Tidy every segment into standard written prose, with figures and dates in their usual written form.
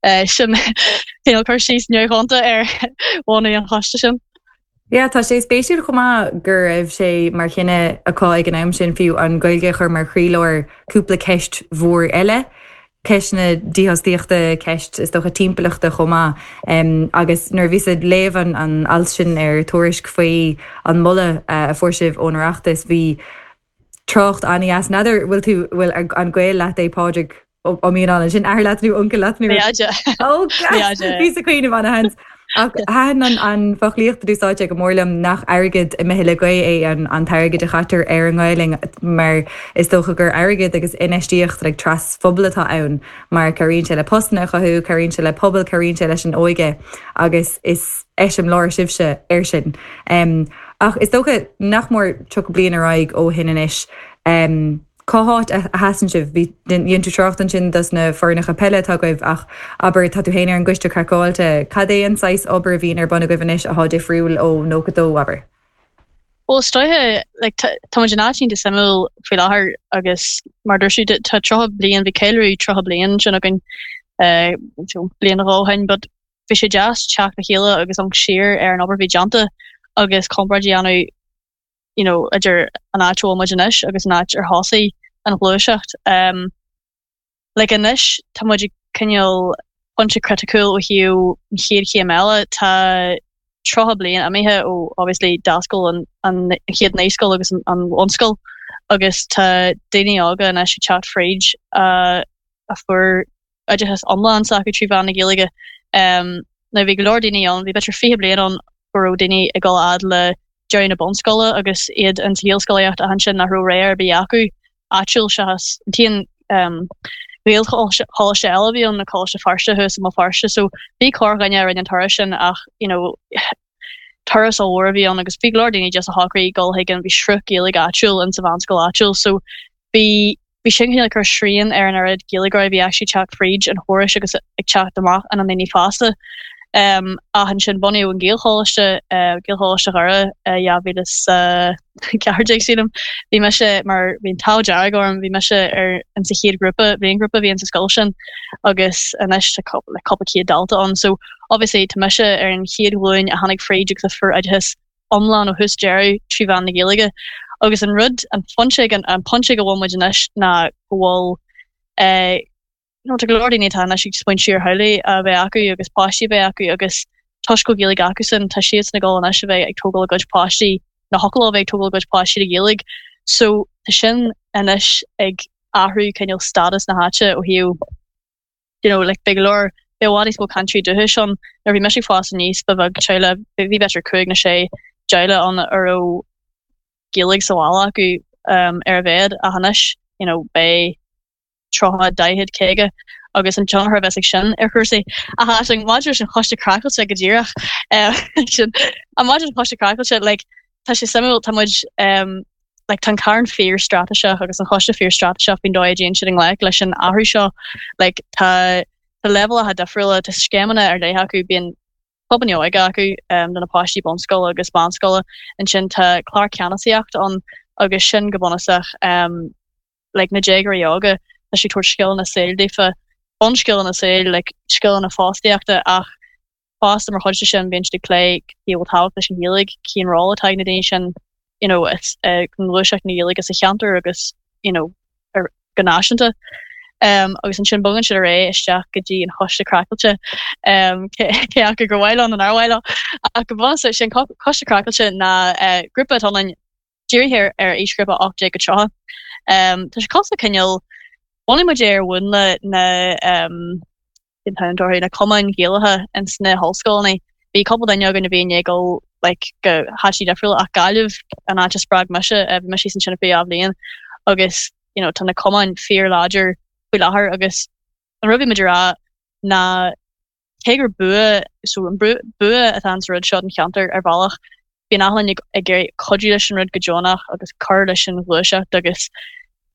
Sin cineál cur síos neamhdhonta ar bhunú an choiste sin. Yeah, tá sé spéisiúil chomh maith go raibh sé mar chinneadh acu ag an am sin fiú an Ghaeilge a chur mar chroílár cúpla ceist mhór eile, ceist na dífhostaíochta, ceist is dócha timpeallachta chomh maith. Agus nuair a bhíos ag léamh an an alt sin ar Tuairisc faoi an moladh a fuair sibh ón Oireachtas, bhí trácht an-dheas. N'fheadar bhfuil tú, bhfuil an gaol leat é Pádraig Ó Mianáin, sin athair leat nó uncail leat nó? Deaide. Ó gas! Bhíos ag cuimhneamh ana-sheans. Ach thaitin an an foclaíocht a d'úsáid sé go mór liom nach airgead imithe le gaoth é an an t-airgead a chaitear ar an nGaelainn mar is dócha gur airgead agus infheistíocht like trasphobail atá ann mar cabhraíonn sé le postanna a chothú, cabhraíonn sé le pobal, cabhraíonn sé leis an óige agus is eiseamláir sibhse air sin. Ach is dócha nach mór 30 bliain ar aghaidh ó shin anois. Cá háit a sheasann sibh? Bhí, dhein tú trácht ansin dos na foirneacha peile atá agaibh ach abair, tá tú féin ar an gCoiste Craiceáilte, cad é an saghas obair a bhíonn ar bun agaibh anois athá difriúil ó 92, abair? Bhuel, is dóiche, like, tá muid in áit iontach suimiúil faoi láthair agus mar a dúirt tú, tá 30 bliain, bhí ceiliúradh 30 bliain ansin againn, bliain nó dhó ó shin, but bhí sé deas teacht le chéile agus amharc siar ar an obair a bhí déanta agus comparáid a dhéanamh you know, idir an áit a bhfuil muid anois agus an áit ar thosaigh an ghluaiseacht. Um, like anois tá muid ag cineál pointe criticiúil ó thaobh an chéad chéim eile. Tá 30 bliain imithe ó obviously d'oscail an, an chéad naíscoil agus an, an bhunscoil agus tá daoine óga anois ag teacht fríd uh, a fuair oideachas iomlán s'acu trí mheán na Gaeilge. Now bhí go leor daoine ann, bhí b'fhéidir 20 bliain ann go raibh daoine ag dul a fhad le deireadh na bunscoile agus iad in sa Ghaelscolaíocht ach ansin nach raibh rogha ar bith acu áitiúil seachas an t-aon Ghaelcholáiste eile a bhí ann, ná Coláiste Feirste thuas i mBéal Feirste. So bhí corrdhuine a rinne an turas sin ach you know turas ollmhór a bhí ann agus bhí go leor daoine just a shocraigh dul chuig an, bhí sruth Gaeilge áitiúil in sa mheánscoil áitiúil so bhí bhí sin cineál ag cur srian ar an oiread Gaeilgeoirí a bhí actually ag teacht fríd an chórais agus ag teacht amach ina ndaoine fásta. Um, ach ansin bunaíodh an Gaelcholáiste, uh, Gaelcholáiste Dhoire uh, 2014 sílim. Bhí mise mar bhí an t-ádh dearg orm, bhí mise ar in sa chéad ghrúpa, bhliainghrúpa a bhí in sa scoil sin agus anois tá le cúpla céad dalta ann. So obviously tá mise ar an chéad ghlúin a tháinig fríd agus a fuair oideachas iomlán ó thús deireadh trí mheán na Gaeilge. Agus an rud, an pointe ag an pointe ag a bhfuil muid anois ná go bhfuil eh you know tá go leor daoine atá anois ag smaointiú ar theaghlaigh a bheith acu agus páistí a bheith acu agus toisc go bhfuil Gaeilge acusan tá siadsan ag dul anois a bheith ag tógáil a gcuid páistí nó thiocfadh leo a bheith ag tógáil a gcuid páistí le Gaeilge. So tá sin anois ag athrú cineál stádas na háite ó thaobh you know, like, beidh go leor, beidh i bhfad níos mó cainteoirí dúchais ann. Nuair a bhí mise ag fás aníos, ba bheag teaghlach, bhí b'fhéidir cúig nó sé dteaghlach ann a raibh Gaeilge sa bhaile acu um, ar a mhéad, ach anois, you know, beidh 30, 40, 50 agus an tionchar a bheas ag sin ar chúrsaí. Ach Aisling, maidir leis an Choiste Craiceáilte go díreach, sin, an maidir leis an Choiste Craiceáilte, like, tá sé suimiúil, tá muid, um, like, tá an Carn fíor-straitéiseach agus an Choiste fíor-straitéiseach faoin dóigh a dtéann siad i ngleic leis an athrú seo. Like, tá tá leibhéalacha difriúla, tá scéimeanna ar leith acu, bíonn clubanna óige acu um, do na páistí bunscoile agus meánscoile. Ansin tá clár ceannasaíochta ann agus sin go bunúsach um, like, na déagóirí óga, tá siad ag tabhairt scileanna saoil daofa, bunscileanna saoil, like, scileanna fostaíochta ach fosta mar chuid de sin bíonn siad ag plé cé a bhfuil tábhacht leis an Ghaeilge, cén ról atá ag na daoine sin you know i ngluaiseacht na Gaeilge sa cheantar agus you know ar go náisiúnta. Um, agus ansin bogann siad ar aghaidh isteach go dtí an Choiste Craiceáilte um, cé, cé acu gur mhaith leo nó nár mhaith leo. Ach go bunúsach sin Coiste Craiceáilte ná uh, grúpa atá ann dírithe ar, ar aoisghrúpa 18 go 30. Um, tá sé cosúil le cineál bhunaigh muid é ar mhúnla na um, cén t-ainm atá orthu, na cumainn Ghaelacha ins na hollscoileanna. Bhí cúpla duine againn a bhí i ndiaidh dul like go háiteanna difriúla ach Gaillimh an áit a spreag mise, bhí mise ansin ar feadh dhá bhliain agus you know tá na cumainn fíor-láidir faoi láthair agus an rud a bhí muid a rá ná cé gur bua so an bua atá ins an rud seo don cheantar ar bhealach bíonn achan duine ag iarraidh cuidiú leis an rud go deonach agus cur leis an ghluaiseacht agus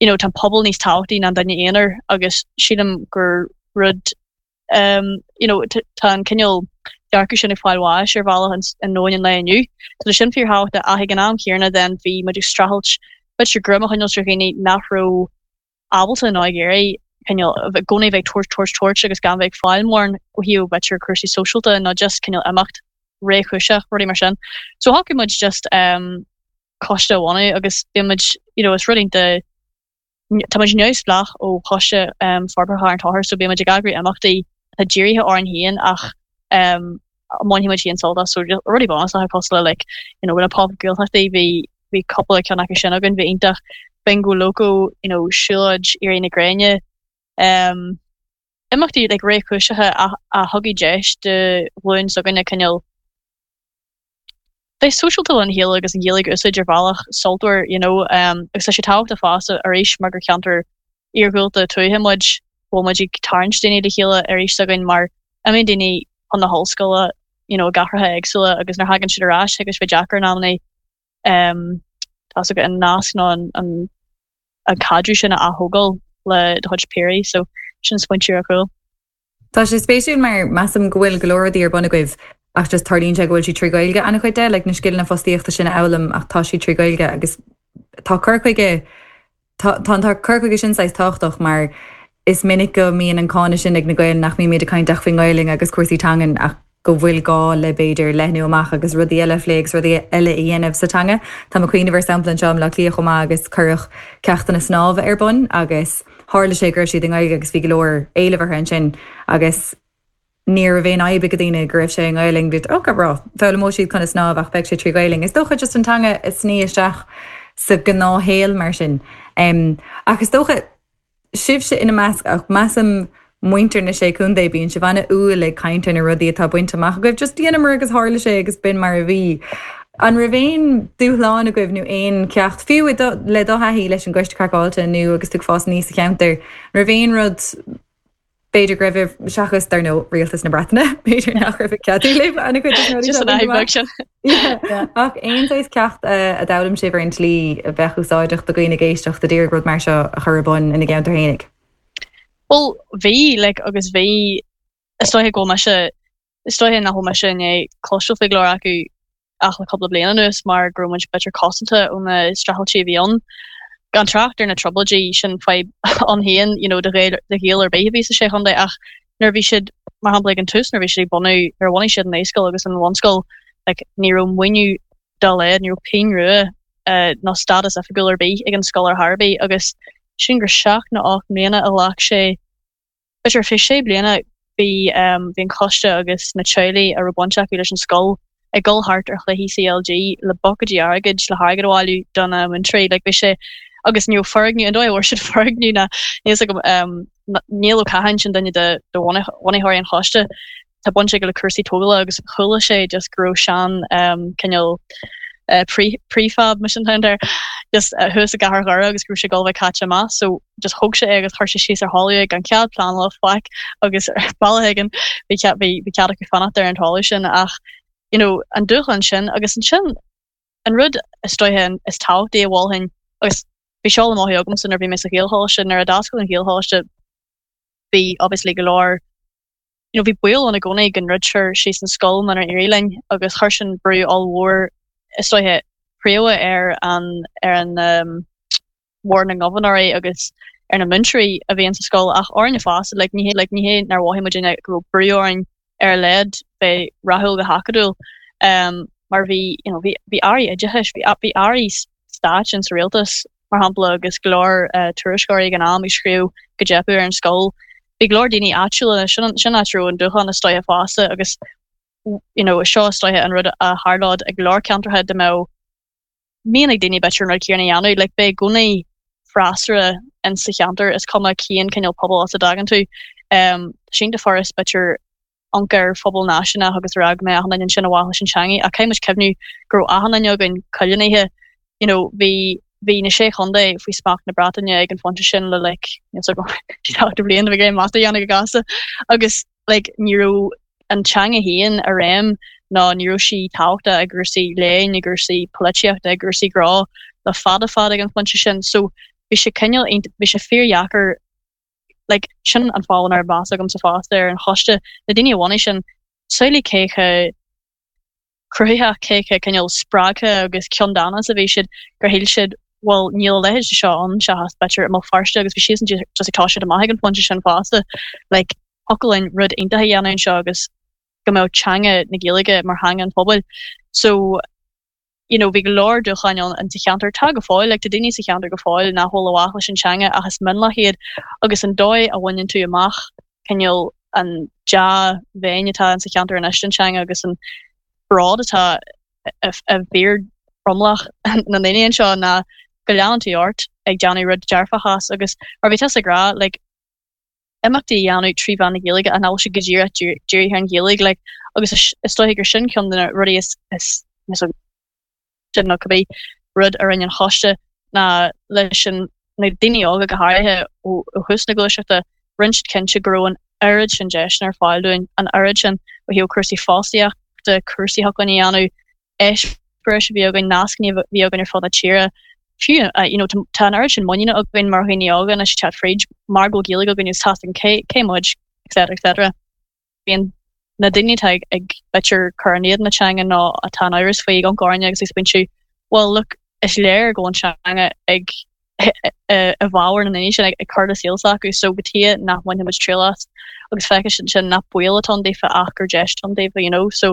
you know tá an pobal níos tábhachtaí ná an duine aonair agus sílim gur rud um you know tá an cineál dearcadh sin ag fáil bháis ar bhealach i ndomhan an lae inniu. So tá sin fíorthábhachtach ach ag an am chéanna then bhí muid ag streachailt b'fhéidir greim a choinneáil ar dhaoine nach raibh ábalta nó ag iarraidh. Cineál i gcónaí bheith ag tabhairt, tabhairt, tabhairt agus gan bheith ag fáil mórán ó thaobh b'fhéidir cúrsaí sóisialta nó just cineál imeacht réchúiseach, rudaí mar sin. So shocraigh muid just um, coiste a bhunú agus bíonn muid, you know, is rud iontach, tá muid neamhspleách ó Choiste um, Forbartha Charn Tóchair so bíonn muid ag eagrú imeachtaí atá dírithe orainn féin ach um, a mbainfidh muid féin sult as so rudaí bunúsacha cosúil le like, you know, na Pop Gaeltachtaí bhí bhí cúpla ceann acu sin againn, bhí iontach Bingo Loco, you know, siúlóid éirí na gréine, um, imeachtaí like réchúiseacha a, a thugadh deis do ghlúin s'againne cineál bheith sóisialta lena chéile agus an Ghaeilge a úsáid ar bhealach sultmhar, you know, um, agus tá sé tábhachtach fosta arís mar gur cheantar iarghúlta tuaithe muid, go bhfuil muid ag tarraingt daoine le chéile arís s'againn mar imíonn daoine chun na hollscoile, you know, i gcathracha éagsúla agus nuair a thagann siad ar ais thig leis bheith deacair in amannaí um, tá 's agat an nasc nó an, an, an caidreamh sin a ath-thógáil le do chuid piaraí, so sin smaointe ar chúl. Tá sé spéisiúil mar measaim go bhfuil go leor rudaí ar bun agaibh ach just tarlaíonn sé go bhfuil siad trí Ghaeilge an-chuid de, like na scileanna fostaíochta sin a fhoghlaim ach tá siad trí Ghaeilge agus tá cur chuige tá tá an cur chuige sin saghas tábhachtach mar is minic go mbíonn an cáineadh sin ag na Gaeil nach mbímid ag caint ach faoin nGaelainn agus cúrsaí teangan ach go bhfuil gá le b'fhéidir leathnú amach agus rudaí eile a phlé agus rudaí eile a dhéanamh sa teanga. Tá mé ag cuimhneamh ar sampla anseo i mBleá Cliath chomh maith agus cuireadh ceachtanna snámha ar bun agus tharla sé go raibh siad i nGaeilge agus bhí go leor éilimh orthu ansin agus ní raibh aon fhadhb ag daoine go raibh sé i nGaelainn. Bhí ok right, foghlaimeoidh siad conas snámh ach beidh sé trí Ghaelainn. Is dócha just an teanga a sní isteach sa ghnáthshaol mar sin. Ach is dócha sibhse ina measc, ach measaim muintir na Sé Chontae, bíonn sibh an-umhal ag caint ar na rudaí atá bainte amach agaibh, just dheineamar agus tharla sé agus b'in mar a bhí. An raibh aon dúshlán agaibh nó aon cheacht, fiú le do thaithí leis an gCoiste Craiceáilte nó agus tú ag fás aníos sa cheantar, an raibh aon rud, B'fhéidir go raibh, seachas, dar ndóigh, rialtas na Breataine, b'fhéidir nach raibh ag ceadú libh an-chuid de na rudaí seo a bhaint amach. Just an fhadhb beag sin. Yeah. Ach aon saghas ceacht a d'fhoghlaim sibh ar an tslí a bheadh úsáideach do dhaoine ag éisteacht a d'iarraidh rud mar seo a chur ar bun ina gceantar fhéinig? Bhuel, bhí, like, agus bhí, is dóiche go bhfuil mise, Is dóiche nach bhfuil mise i ndiaidh cloisteáil faoi go leor acu ach le cúpla bliain anuas mar go raibh muid b'fhéidir cosanta ó na streachailtí a bhí ann. Gan trácht ar na trioblóidí, sin fadhb ann féin you know do Ghaeil do Ghaeil ar bith a bhí sa Sé Chontae ach nuair a bhí siad, mar shampla ag an tús nuair a bhí siad ag bunú, nuair a bhunaigh siad an naíscoil agus an bhunscoil like ní raibh maoiniú dá laghad, ní raibh pingin rua ná stádas oifigiúil ar bith ag an scoil ar chor ar bith agus sin gur seacht nó 8 mbliana a ghlac sé B'fhéidir ar feadh sé bliana bhí bhí an coiste agus na teaghlaigh a raibh baint acu leis an scoil ag dul thart ar chluichí CLG le buicéidí airgid le hairgead a bhailiú do na múinteoirí. Like bhí sé agus ní raibh foirgneamh, an dóigh a bhfuair siad foirgneamh ná níl 's agam Niall Ó Catháin sin duine de de bhunaitheoirí an choiste tá baint aige le cúrsaí tógála agus chuala sé just go raibh sean cineál prefab mar sin atá air just thuas i gcathair Dhoire agus go raibh sé ag dul a bheith caite amach so just thóg sé é agus chuir sé síos ar thalamh é gan cead pleanála faic agus ar bhealach éigin bhí cead bhí bhí cead acu fanacht ar an talamh sin ach you know an dúshlán sin agus ansin an rud is dóiche is tábhachtaí a mholfainn agus bhí seo le mothú agamsa nuair a bhí mé sa Ghaelcholáiste nuair a d'oscail an Ghaelcholáiste bhí obviously go leor you know, bhí baol ann i gcónaí go ndruidfear síos an scoil munar éirigh linn agus chuir sin brú ollmhór, is dóiche, príomha ar an, ar an um, Bhord na nGobharnóirí agus ar na múinteoirí a bhí insa scoil ach orainne fosta, like, ní hé, like, ní hé nár mhothaigh muidinne go raibh brú orainn ar a laghad bheith rathúil go hacadúil um, mar bhí, you know, bhí, bhí airí oideachais, bhí, bhí airí stáit in sa rialtas, mar shampla, agus go leor tuairisceoirí ag an am ag scríobh go dteipeadh ar an scoil. Bhí go leor daoine áitiúla, sin sin áit a raibh an dúshlán is dóiche fosta agus you know seo is dóiche an rud a tharlódh i go leor ceantracha dá mbeadh mian ag daoine b'fhéidir an rud céanna a dhéanamh. Like beidh i gcónaí freasúra in sa cheantar, is cuma cén cineál pobal as a dtagann tú. Um, tá sé iontach furast b'fhéidir amharc ar phobal náisiúnach agus a rá go mbeadh achan duine ansin ar mhaithe leis an teangaidh ach caithfidh muid cuimhniú go raibh achan duine againn coilínithe you know bhí bhí na sé chontae faoi smacht na Breataine ag an phointe sin le like níl 's agam 70 bliain bhí mé mata a dhéanamh go gasta agus like ní raibh an teanga féin i réim ná ní raibh sí tábhachtach i gcúrsaí léinn i gcúrsaí polaitíochta i gcúrsaí gnó le fada fada ag an phointe sin so bhí sé cineál bhí sé fíordheacair like, sin an fáth a raibh meas agamsa fosta ar an choiste, na daoine a bhunaigh sin, samhlaigh cé chomh cruthaitheach, cé chomh cineál spreagtha agus ceanndána is a bhí siad, gur shíl siad, Bhuel níl a leithéid de seo ann seachas b'fhéidir i mBéal Feirste agus bhí siadsan just ag toiseacht amach ag an phointe sin fosta. Like thiocfadh linn rud iontach a dhéanamh anseo agus go mbeadh teanga na Gaeilge mar theanga an phobail. So you know bhí go leor dúshláin ann in sa cheantar, tá go fóill, like tá daoine sa cheantar go fóill nach bhfuil i bhfách leis an teanga ach is mionlach iad agus an dóigh a bhaineann tú amach cineál an dea-mhéin atá in sa cheantar anois don teanga agus an bród atá i bhfíor-thromlach na ndaoine anseo ná go leanann tú ort ag déanamh rud dearfach as agus mar bhí tusa ag rá like imeachtaí a dhéanamh trí mheán na Gaeilge ach nach bhfuil sé go díreach dírithe ar an Ghaeilge like agus is dóiche gur sin ceann de na rudaí is is sin nó cibé rud a rinne an choiste ná leis an na daoine óga go háirithe ó thús na gluaiseachta rinne siad cinnte go raibh an oiread sin deiseanna ar fáil dúinn, an oiread sin ó thaobh cúrsaí fostaíochta, cúrsaí a thiocfadh linn a dhéanamh, eispéiris a bhí againn, nascanna a bhí againn ar fud na tíre. Fiú, you know, tá an oiread sin muiníne againn mar dhaoine óga anois ag teacht fríd mar go bhfuil Gaeilge againn agus tá a fhios againn cé, cé muid, etc. etc. Bíonn na daoine atá ag, ag b'fhéidir cur in éadan na teanga nó atá in amhras faoi ag amharc orainne agus ag smaointiú, well look, is léir go bhfuil an teanga ag i bhfabhar na ndaoine sin ag cur le saol s'acu so cad chuige nach mbainfidh muid triail as agus feicfidh siad ansin nach baol atá ann daofa ach gur deis atá ann daofa you know so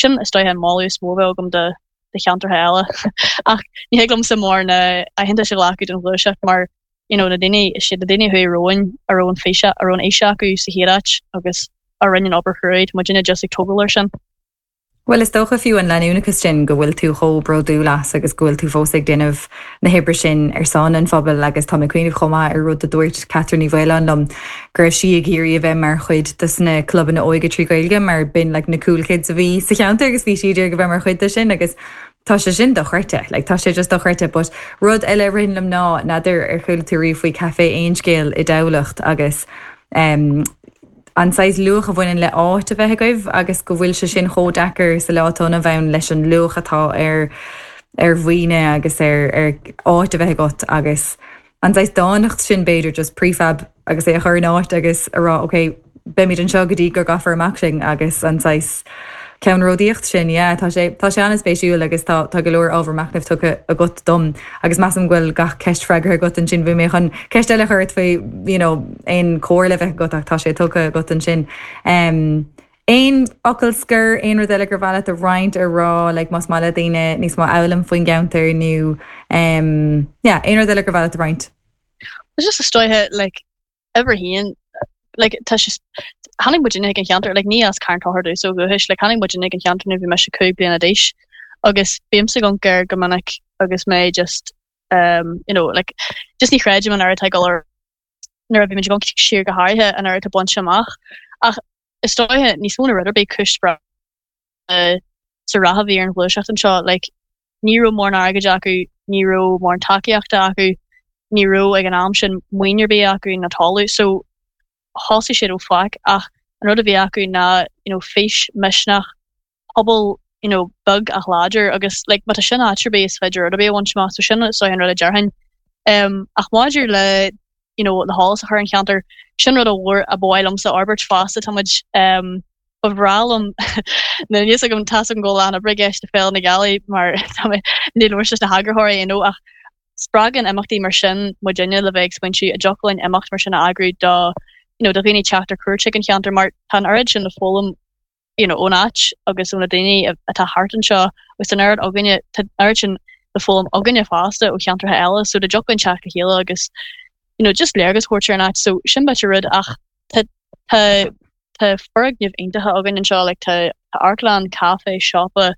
sin is dóiche an moladh is mó a bheadh agam do do cheantartha eile ach ní thig liomsa mórán aitheantais a ghlacadh don ghluaiseacht mar you know na daoine is iad na daoine a chuaigh romhainn a raibh an fís a raibh an fhís acu sa chéad áit agus a rinne an obair chruaidh tá muidinne just ag tógáil air sin. Bhuel, is dócha fiú an leanúnachas sin go bhfuil tú chomh bródúil as agus go bhfuil tú fós ag déanamh na hoibre sin ar son an phobail agus tá mé ag cuimhneamh chomh maith ar rud a dúirt Catherine Ní Mhaoláin liom go raibh sí ag iarraidh a bheith mar chuid de na clubanna óige trí Ghaeilge mar b'in like na cool kids a bhí sa cheantar agus bhí sí ag iarraidh a bheith mar chuid de sin agus tá sé sin dochreidte, like tá sé just dochreidte but rud eile a ritheann liom ná n'fheadar ar chuala tú riamh faoi Café Aon Scéal i dTamhlacht agus um, an saghas luach a bhaineann le áit a bheith agaibh agus go bhfuil sé sin chomh deacair sa lá atá inniu ann leis an luach atá ar ar mhaoine agus ar ar áit a bheith agat agus an saghas dánacht sin b'fhéidir just prefab agus é a chur in áit agus a rá ok beimid anseo go dtí go gcaithfear amach sinn agus an saghas ceannródaíocht sin yeah tá sé tá sé an-spéisiúil agus tá tá go leor ábhar machnaimh tugtha agat dom agus measaim go bhfuil gach ceist freagartha agat ansin bhí mé chun ceist eile a chur ort faoi you know aon chomhairle a bheith agat ach tá sé tugtha agat ansin. Um, aon fhocal scoir, aon rud eile gur mhaith leat a roinnt a rá like más maith le daoine níos mó a fhoghlaim faoin gceantar nó um, yeah, aon rud eile gur mhaith leat a roinnt? Just is dóiche like uimhir a haon, like tá sé, tháinig muidinne chuig an cheantar, like ní as Carn Tóchair domhsa ó dhúchas, like tháinig muidinne chuig an cheantar nuair a bhí mise 5 bliana d'aois agus bímse ag amharc air go minic agus mé just um, you know, like just ní chreidim an oiread atá ag dul ar nuair a bhímid ag amharc siar go háirithe an oiread atá bainte amach ach is dóiche níos mó ná rud ar bith cúis spreagtha sa rath a bhí ar an ghluaiseacht anseo like ní raibh mórán airgid acu, ní raibh mórán tacaíochta acu, ní raibh ag an am sin maoin ar bith acu ná talamh so thosaigh siad ó faic ach an rud a bhí acu ná you know fís, misneach, pobal you know beag ach láidir agus like má tá sin áit ar bith is féidir rud ar bith a bhaint amach so sin is dóiche an rud a déarfainn. Um ach maidir le you know le heolas a chur ar an cheantar sin rud ollmhór a ba mhaith liomsa a fhorbairt fosta tá muid um ba bhreá liom níl a fhios agam tá a fhios agam go bhfuil a lán oibre i gceist le Féile na Gealaí mar tá mé ní labhairt leis na heagarthóirí you know ach spreagann imeachtaí mar sin muidinne le bheith ag smaointiú an dtiocfadh linn imeacht mar sin a eagrú do you know do dhaoine teacht ar cuairt chuig an cheantar mar tá an oiread sin le foghlaim you know, ón áit agus ó na daoine atá thart anseo agus tá an oiread againne, tá an oiread sin le foghlaim againne fosta ó cheantracha eile so dá dtiocfadh linn teacht le chéile agus you know, just léargas a thabhairt ar an áit so sin b'fhéidir rud ach tá tá tá foirgnimh iontacha againn anseo like tá tá amharclann, caife, siopa,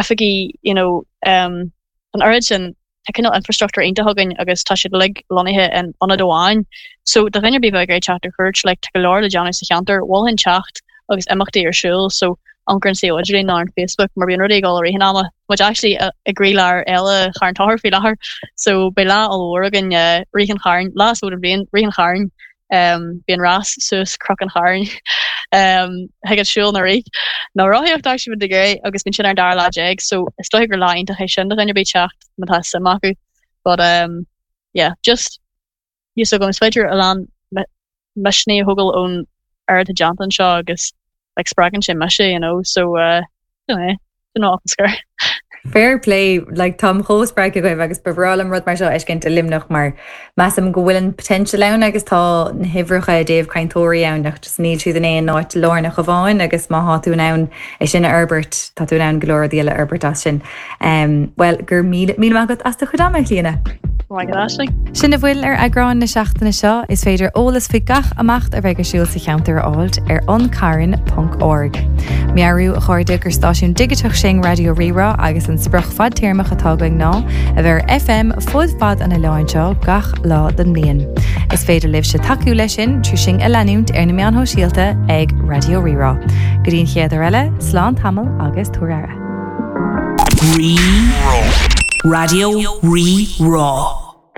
oifigí you know um an oiread sin tá cineál infrastructúr iontach againn agus tá siad uilig lonnaithe in ionad amháin. So do dhuine ar bith a bheadh ag iarraidh teacht ar cuairt like tá go leor le déanamh sa cheantar, mholfainn teacht agus imeachtaí ar siúl so amharc ar an suíomh idirlín nó ar an Facebook mar bíonn rudaí ag dul i rith an ama. Tá muid actually i gcroílár Fhéile Charn Tóchair faoi láthair so beidh lá ollmhór againn uh, Rith an Chairn, lá is mó den bhliain, Rith an Chairn Bíonn rás suas Cnoc an Chairn thig leat siúl nó rith nó rothaíocht actually má tá tú ag iarraidh agus bíonn sin ar an dara lá déag so is dóiche gur lá iontach é sin do dhuine ar bith teacht má tá suim acu. But um, yeah, just fhios agam is féidir a lán misnigh a thógáil ón oiread atá déanta anseo agus like spreagann sé mise, you know, so uh, don't know, don't know off the scoir. Fair play, like táim chomh spreagtha agaibh agus ba bhreá liom rud mar seo a fheiscint i Luimneach mar measaim go bhfuil an potential ann agus tá na huimhreacha i dtaobh cainteoirí ann ach just níl siad in aon áit lárnach amháin agus má thá tú in ann é sin a fhorbairt tá tú in ann go leor rudaí eile a fhorbairt as sin. Bhuel, go raibh míle míle maith agat as do chuid ama, a Chlíona. Maith agat, Aisling. Sin a bhfuil ar eagrán na seachtaine seo. Is féidir eolas faoi gach imeacht a bheidh ar siúl sa cheantar a fháilt ar ancarn ponc org. Meabhrú, a chairde, gur stáisiún digiteach sinn, Raidió Rí-Rá, agus an sprioc fadtéarmach atá againn ná a bheith ar FM fud fad an oileáin seo gach lá den mbliain. Is féidir libhse tacú leis sin trí sinn a leanúint ar na meáin shóisialta ag Raidió Rí-Rá. Go dtí an chéad uair eile, slán tamall agus tabhair aire. Rí-Rá. Raidió Rí-Rá.